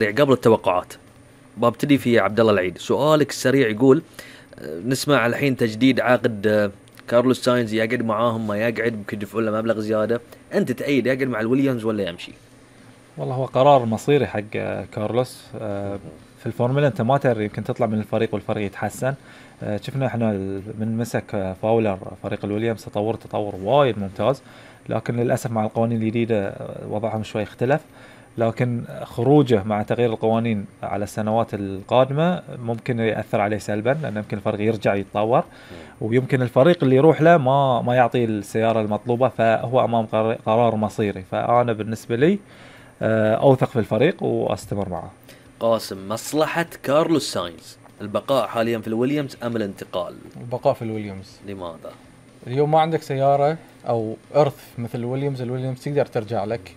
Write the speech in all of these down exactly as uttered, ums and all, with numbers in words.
قبل التوقعات ببتدي في عبد الله العيد. سؤالك السريع يقول نسمع الحين تجديد عقد كارلوس ساينز، يقعد معاهم ما يقعد، ممكن يدفعون له مبلغ زيادة، أنت تأيد يقعد مع الويليامز ولا يمشي؟ والله هو قرار مصيري حق كارلوس. في الفورمولا أنت ما تدري، يمكن تطلع من الفريق والفريق يتحسن. شفنا إحنا من مسك فاولر فريق الويليامز تطور تطور وايد ممتاز، لكن للأسف مع القوانين الجديدة وضعهم شوي اختلف. لكن خروجه مع تغيير القوانين على السنوات القادمة ممكن يأثر عليه سلبا، لأن يمكن الفريق يرجع يتطور، ويمكن الفريق اللي يروح له ما ما يعطيه السيارة المطلوبة، فهو أمام قرار مصيري. فأنا بالنسبة لي أوثق في الفريق وأستمر معه. قاسم، مصلحة كارلوس ساينز البقاء حاليا في الويليامز أم الانتقال؟ البقاء في الويليامز. لماذا؟ اليوم ما عندك سيارة أو إرث مثل الويليامز. الويليامز تقدر ترجع لك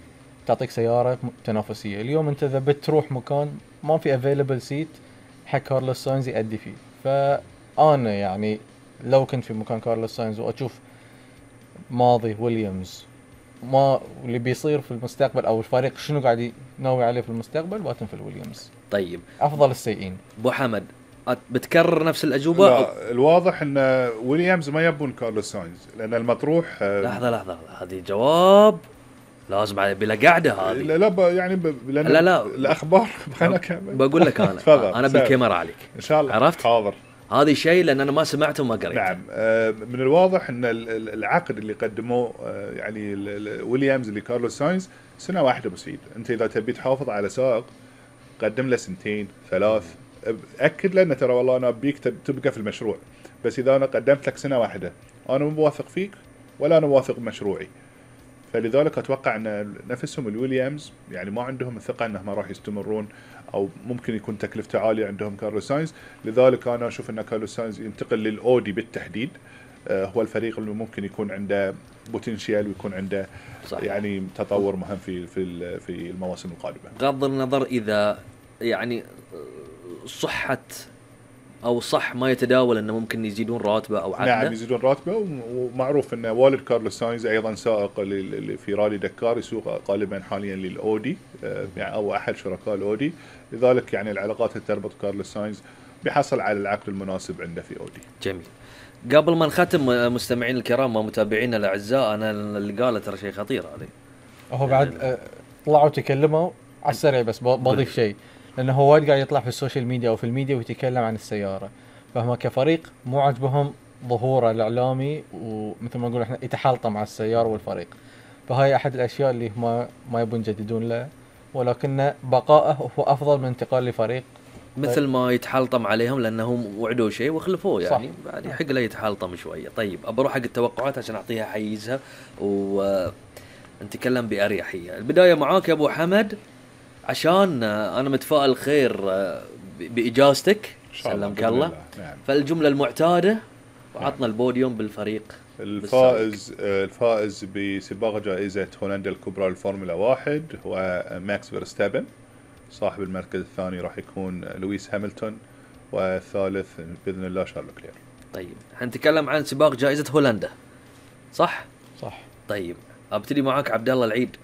تعطيك سيارة تنافسية. اليوم أنت إذا بتروح مكان ما في available seat حق كارلوس ساينز يأدي فيه، فأنا يعني لو كنت في مكان كارلوس ساينز وأشوف ماضي ويليامز ما اللي بيصير في المستقبل أو الفريق شنو قاعد يناوي عليه في المستقبل، باتن في الويليامز. طيب أفضل السيئين. أبو حمد بتكرر نفس الأجوبة؟ لا، الواضح أن ويليامز ما يبون كارلوس ساينز، لأن المطروح لحظة لحظة هذه جواب لازم بلا قاعدة هذه. لا لا يعني ب... لا لا الأخبار خلنا كمل. بقول لك أنا أنا بالكاميرا عليك إن شاء الله. عرفت؟ حاضر. هذا شيء لأن أنا ما سمعته وما قريت. نعم. من الواضح أن العقد اللي قدموه يعني ويليامز اللي كارلوس ساينز سنة واحدة مسيد. أنت إذا تبي تحافظ على سائق قدم له سنتين ثلاث، أكد لنا ترى والله أنا أبيك تبقى في المشروع، بس إذا أنا قدمت لك سنة واحدة أنا مو واثق فيك ولا أنا واثق بمشروعي. فلذلك أتوقع أن نفسهم الويليامز يعني ما عندهم الثقة أنهم راح يستمرون، أو ممكن يكون تكلفته عالية عندهم كارلوس ساينز. لذلك أنا أشوف أن كارلوس ساينز ينتقل للأودي بالتحديد. آه هو الفريق اللي ممكن يكون عنده بوتنشيال ويكون عنده صحيح. يعني تطور مهم في في في المواسم القادمة. بغض النظر إذا يعني صحة أو صح ما يتداول أنه ممكن يزيدون راتبه أو عقده. نعم يزيدون راتبه، ومعروف أن والد كارلوس ساينز أيضا سائق في رالي دكار، يسوق غالبا حاليا للأودي يعني أو أحد شركاء الأودي. لذلك يعني العلاقات اللي تربط كارلوس ساينز بيحصل على العقد المناسب عنده في أودي. جميل. قبل ما نختم مستمعين الكرام ومتابعينا الأعزاء، أنا اللي قاله ترى شيء خطير هذا. هو بعد طلعوا تكلموا على السريع، بس بضيف شيء، لأنه هو وايد قاعد يطلع في السوشيال ميديا أو في الميديا ويتكلم عن السيارة، فهم كفريق مو عجبهم ظهوره الإعلامي، ومثل ما نقول إحنا يتحالطم مع السيارة والفريق. فهاي أحد الأشياء اللي ما ما يبون يجددون له، ولكن بقائه هو أفضل من انتقال لفريق مثل ما يتحلطم عليهم لأنهم وعدوا شيء وخلفوه يعني. صح. بعد يحق له يتحلطم شوية. طيب أبروح حق التوقعات عشان أعطيها حيزها ونتكلم بأريحية. البداية معاك يا أبو حمد، عشان أنا متفائل خير بإجازتك سلمك الله. نعم. فالجملة المعتادة وعطنا البوديوم بالفريق. الفائز بالسابق. الفائز بسباق جائزة هولندا الكبرى للفورمولا واحد هو ماكس فيرستابن. صاحب المركز الثاني راح يكون لويس هاملتون، والثالث بإذن الله شارل كلير. طيب حنتكلم عن سباق جائزة هولندا صح؟ صح. طيب أبتدي معاك عبد الله العيد.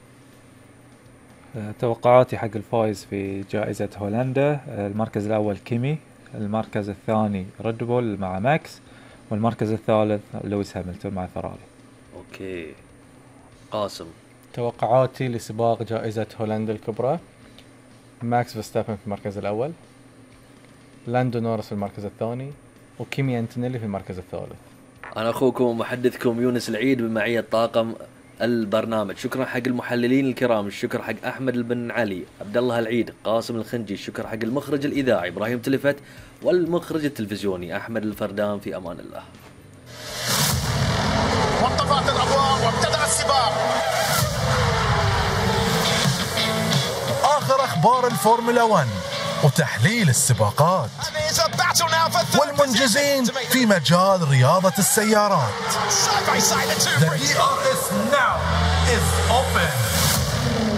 توقعاتي حق الفائز في جائزة هولندا، المركز الأول كيمي، المركز الثاني ريد بول مع ماكس، والمركز الثالث لويس هاملتون مع فراري. أوكي. قاسم. توقعاتي لسباق جائزة هولندا الكبرى، ماكس فيرستابن في المركز الأول، لاندو نورس في المركز الثاني، وكيمي أنتونيلي في المركز الثالث. أنا أخوكم ومحدثكم يونس العيد بمعية طاقم البرنامج. شكرا حق المحللين الكرام، الشكر حق أحمد بن علي، عبد الله العيد، قاسم الخنجي، الشكر حق المخرج الإذاعي إبراهيم تلفت، والمخرج التلفزيوني أحمد الفردان. في أمان الله. وانطفأت الأضواء وابتدأ السباق. آخر أخبار الفورمولا واحد وتحليل السباقات والمنجزين في مجال رياضة السيارات. The D R S now is open.